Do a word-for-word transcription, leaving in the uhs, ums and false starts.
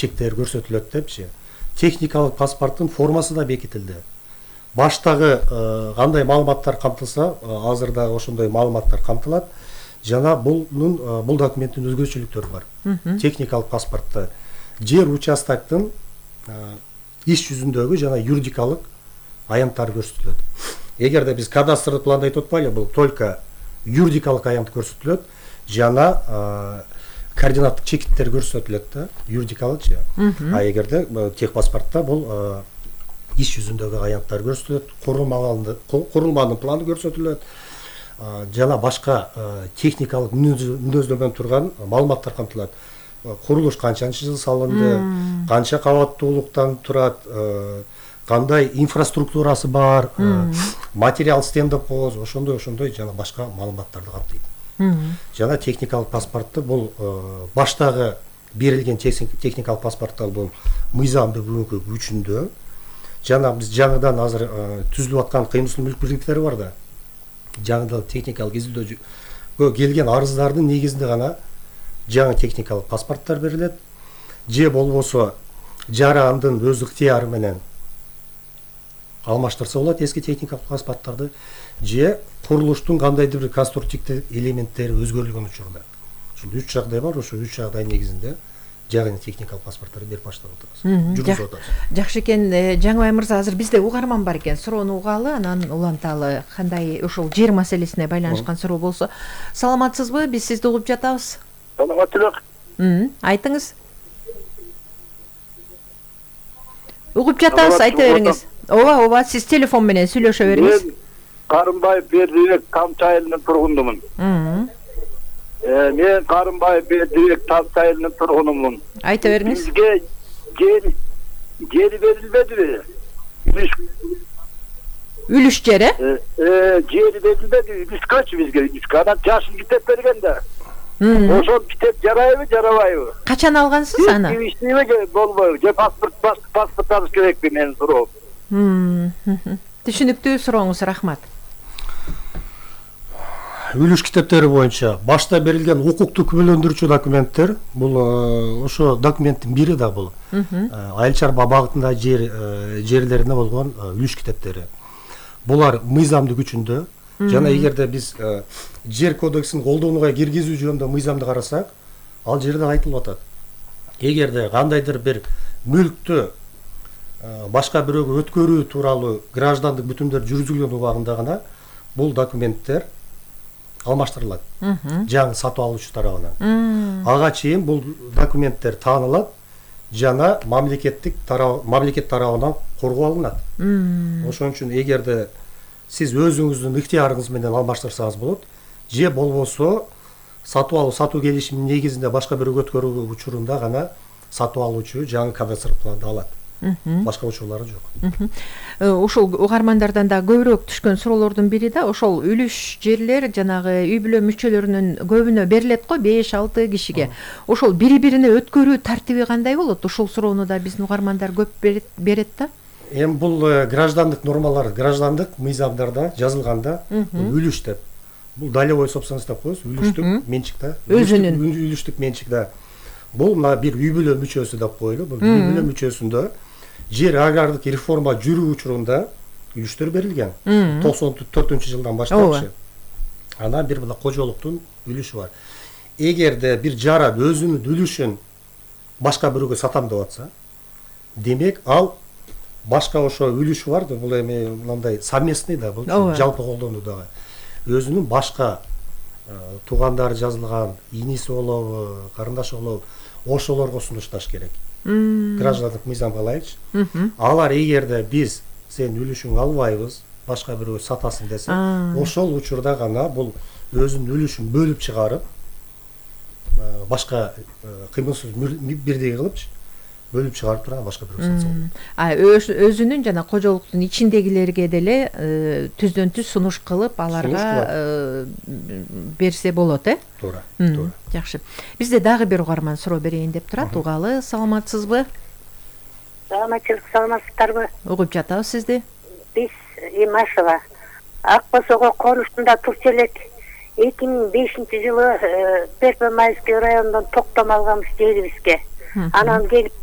чектери көрсөтүлөт депчи. Техникалык паспорттун формасы да бекитилди. Баштагы кандай маалыматтар камтылса, азыр да ошондой маалыматтар камтылат. Жана булнун бул документтин өзгөчөлүктөрү бар. Техникалык паспортто жер участоктун иш жүзүндөгү жана юридикалык аянттары көрсөтүлөт. Эгерде биз кадастрлык планда айтып атпайлы, бул только юридикалык аянт көрсөтүлөт, жана координаттык чекиттер көрсөтүлөт да, юридикалыкчы. А эгерде техпаспортто бул иш жүзүндөгү аянттар көрсөтүлөт, курулманын планы көрсөтүлөт, жана башка техникалык мүнөздөмөн турган маалыматтар камтылат. Курулуш канчанчы жыл салынды, канча кабаттуулуктан турат, кандай инфраструктурасы бар, материал стендап болобу, ошондой ошондой жана башка маалыматтарды камтыйт. Жана техникалык паспортто бул баштагы берилген техникалык паспорттор бул мыйзамдуу бүгүнкү күчүндө. Жана биз жаңыдан азыр түзүлүп аткан кыймылчыл мүлк бирликтери бар да. Жаңыдан техникалык изилдөөгө келген арыздардын негизинде гана жаңы техникалык паспорттор берилет. Же болбосо жарандын өз ыктыяры менен алмаштырса болот эски техникалык паспорттарды, же курулуштун кандайдыр бир конструктивдик элементтери өзгөрүлгөн учурда. Ушул үч жагдай бар, ошо үч жагдай негизинде жаңы техникалык паспорттарды берип баштап атабыз. Жүргүзүп атабыз. Жакшы экен, Жаңыбай мырза, азыр бизде угарман бар экен, суроону угалы, анан уланталы. Кандай ошол жер маселесине байланышкан суроо болсо. Саламатсызбы? Биз сизди угуп жатабыз. Саламаттык. Айтыңыз. Угуп жатабыз, айта бериңиз. Ооба, ооба, сиз телефон менен сүйлөшө бериңиз. Мен Карымбаев Бердибек Тамчы айылынын тургунумун. Мен Карымбаев Бердибек Тамчы айылынын тургунумун. Айта бериңиз. Бизге жер жери берилбедиби? Үлүш Үлүш жери? Э, жери берилбеди, үлүшкөчү бизге, үлүшкө. Анан жашыл китеп берген да. Ошол китеп жарайбы, жарабайбы? Качан алгансыз аны? Тийиштүүбү болбойбу? Же паспорт паспорт алыш керекпи менин суроом? Түшүнүктүү сурооңуз, рахмат. Үлүш китептери боюнча башта берилген укуктук күбөлөндүрүүчү документтер, бул ошо документтин бири да бул. Айыл чарба багытында жер жерлерине болгон үлүш китептери. Булар мыйзамдуу күчүндө. Жана эгерде биз жер кодексин колдонууга киргизүү жөнүндө мыйзамды карасак, ал жерде айтылып атат. Эгерде кандайдыр бир мүлктү башка бирөөгө өткөрүү тууралуу граждандык бүтүмдөр жүргүзүлгөн убагында гана бул документтер алмаштырылат. Жаңы сатып алуучу тарабынан. Ага чейин бул документтер таанылат жана мамлекеттик тарап мамлекет тарабынан коргоо алынат. Ошон үчүн эгерде сиз өзүңүздүн ыктыярыңыз менен алмаштырсаңыз болот, же болбосо сатып алуу сатуу келишиминин негизинде башка бирөөгө өткөрүү учурунда гана сатып алуучу жаңы кадастрлык планды алат. Башка учурлары жок. Ошол угармандардан да көбүрөөк түшкөн суроолордун бири да ошол үлүш жерлер жанагы үй бүлө мүчөлөрүнүн көбүнө берилет го, беш алты кишиге. Ошол бири-бирине өткөрүү тартиби кандай болот? Ошол суроону да биздин угармандар көп берет да. Эми бул граждандык нормалар, граждандык мыйзамдарда жазылганда үлүш деп. Бул долевой собственность деп коебуз, үлүштүк менчик да. Өзүнүн үлүштүк менчик да. Бул мына бир үй бүлө мүчөсү деп коелу. Бул үй бүлө мүчөсүндө жер агрардык реформа жүрүү учурунда үлүштөр берилген. токсон төртүнчү жылдан баштап. Анан бир мына кожолуктун үлүшү бар. Эгерде бир жаран өзүнүн үлүшүн башка бирөөгө сатам деп атса, демек ал башка ошо үлүшү бар да, бул эми мындай совместный да, бул жалпы колдонуудагы. Өзүнүн башка туугандары жазылган, иниси болобу, карындашы болобу, ошолорго сунушташ керек. Граждандык мыйзамга ылайык. Алар эгерде биз сен үлүшүңдү албайбыз, башка бирөө сатасың десе, ошол учурда гана бул өзүнүн үлүшүн бөлүп чыгарып, башка кыймылсыз бирдей кылыпчы бөлүп чыгарып турган башка бирөө сатса болот. А өзүнүн жана кожолуктун ичиндегилерге деле түздөн түз сунуш кылып аларга берсе болот, э? Туура, туура. Жакшы. Бизде дагы бир угарман суроо берейин деп турат. Угалы, саламатсызбы? Саламатчылык, саламатсыздарбы? Угуп жатабыз сизди. Биз Имашева Ак Босого конуштунда турчу элек. эки миң бешинчи жылы Перпе-Майский районунан токтом алганбыз жерибизге. Анан келип